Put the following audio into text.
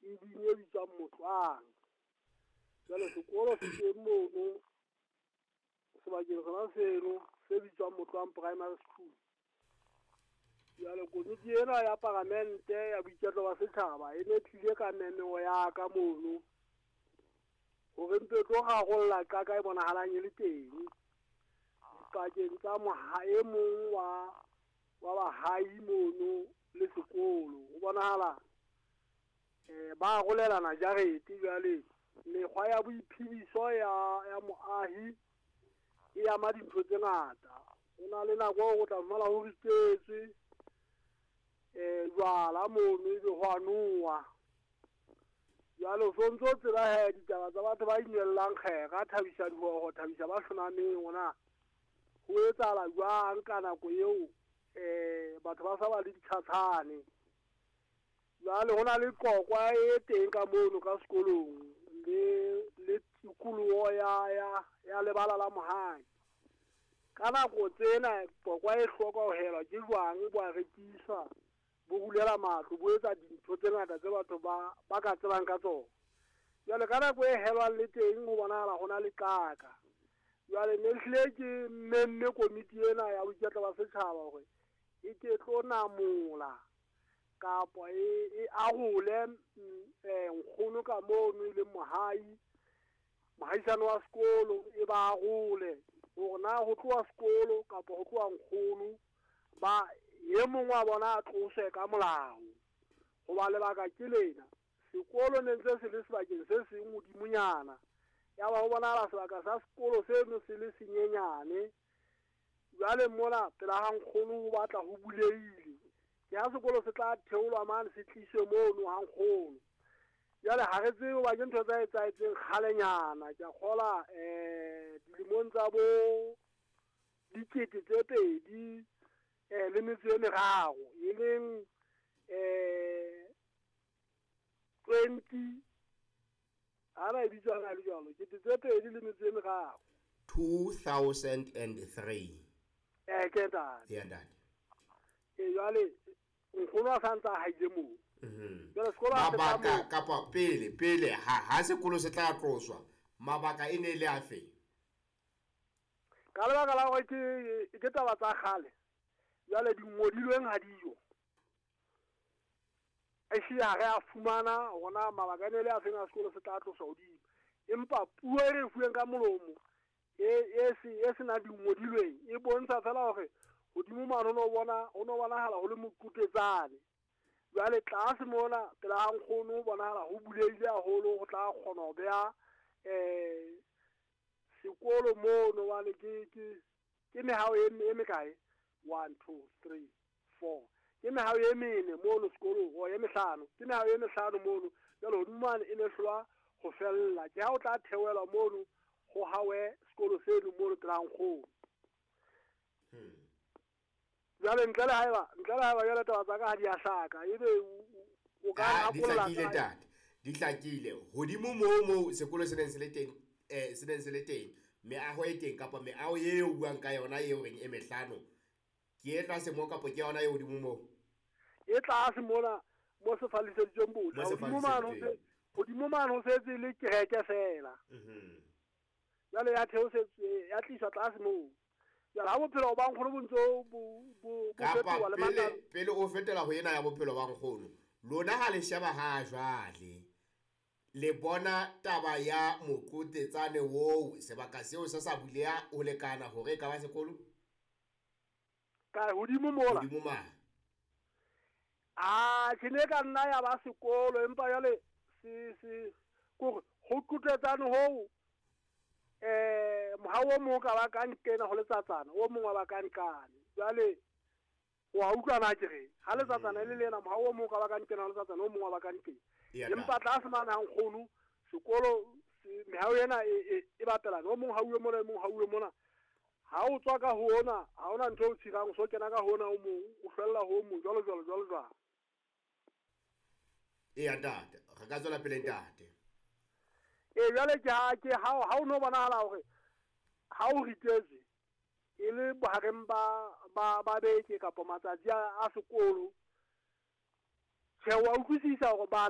Eding e bitswang Motlwang. Jwale sekolo se teng mono sebakeng sona seno se bitswang Motlwang Primary School. Jwale komiti ena ya paramente ya boiketlo ba setjhaba e ne tlile ka memeo ya ka mono hore mpe tlo rarolla qaka e bonahalang e le teng dipakeng tsa e mong wa bahai mono le sekolo. Ho bonahala ba arolelana jarete. Jwale mekgwa ya boiphediso ya moahi e ama dintho tse ngata. Ho na le nako eo o tla fumana ho ritetswe jwala mono, ebe ho a nowa. Jwale o sontso o tseba he ditaba tsa batho ba inwellang kgera, thabisa dihoho, thabisa ba hlonameng, hona ho etsahala jwang ka nako eo batho ba sa ba le ditjhatshane. Jwale ho na le qokwa e teng ka mono ka sekolong le tikoloho ya lebala la mohai. Ka nako tsena qokwa e hloka ho helwa ke jwang, bo a rekiswa, bo rulela matlo, bo etsa dintho tse ngata tse batho ba ka tsebang ka tsona. Jwale ka nako e helwang le teng ho bonahala ho na le qaka. Jwale ne hlile ke memme komiti ena ya boiketlo ba setjhaba hore e ke tlo namola kapa e arole nkgono ka mono e leng mohai, mohaisane wa sekolo, e ba arole hore na ho tloha sekolo kapa ho tloha nkgono, ba e mong wa bona a tloswe ka molao. Hoba lebaka ke lena, sekolo ne ntse se le sebakeng se seng hodimonyana, ya ba ho bonahala sebaka sa sekolo seno se le senyenyane. Jwale mona pela ha nkgono ho batla ho bulehile, ke ha sekolo se tla theolwa mane se tliswe mono ha nkgono. Jwale ha re tsebe hoba ke ntho tsa etsahetseng kgalenyana, ke a kgola dilemong tsa bo 2000 le metso e meraro, e leng 20 ana e bitswa le jwalo, 2003. 2003. Ke ntate. Ya ntate. Jwale nkgono a sa ntse a haile moo. Jwale sekolo ha se tla Mabaka moo. kapa pele ha sekolo se tla tloswa, mabaka e ne le afe? Ka lebaka la hore ke taba tsa kgale, jwale di ngodilweng ha dijo. Ehlile ha re a fumana hore mabaka ne le a feng a sekolo se tla tloswa hodimo. Empa puo e re fuweng ka molomo e senang dingodilweng e bontsha fela hore hodimo mane ho no bonahala ho le moqutetsane. Jwale tlase mona pela ha nkgono ho bonahala ho bulehile haholo, ho tla kgona ho beha sekolo mono. Jwale ke mehao e mekae? 1 2 3 4. Ke mehao e mene mono sekolong, o e mehlano. Ke mehao e mehlano mono. Jwale hodimo mane e ne hlolwa ho fella. Ke ha o tla theohelwa mono ho hawe sekolo seno mono pela nkgono. Jwale ntle le haeba jwale taba tsa ka ha di a hlaka, ebe o ka di hlakile ntate, di hlakile. Hodimo moo sekolo se neng se le teng, se neng se le teng, meaho e teng kapa meaho eo o buang ka yona eo reng e mehlano, ke e tlase moo kapa ke yona e hodimo moo? E tlase mona mo se falliseditsweng botjha. Hodimo mane ho setse le kereke fela. Jwale ya theosetswe, ya tliswa tlase moo. Jwale ha bophelo ba nkgono bo ntse bo fetoha le matla. Pele o fetela ho ena ya bophelo ba nkgono, lona ha le sheba ha jwale, le bona taba ya moqotetsane oo, sebaka seo se sa buleha ho lekana hore e ka ba sekolo? Ka hodimo mola. Hodimo mane. Ke ne ka nna ya ba sekolo, empa jwale se kore ho qotetsane hoo, mohao o mong ka ba ka nkena ho letsatsana, o mong wa ba ka nkane. Jwale wa utlwa na ke re ha letsatsana le lena, mohao o mong ka ba ka nkena ho letsatsana, o mong wa ba ka nkena. Empa tlase mane ha nkgono sekolo mehao ena e bapelana, o mong ha uwe mona, e mong ha uwe mona. Ha o tswa ka ho ona, ha ona ntho o tshirang, o so kena ka ho ona o mong, o hlwella ho o mong, jwalo jwalo jwalo jwalo. Eya ntate, re ka tswela pele ntate. Jwale ke ha o no bonahala hore ha o ritetswe e le bohareng ba beke kapa matsatsi a sekolo, tjhe, wa utlwisisa hore bana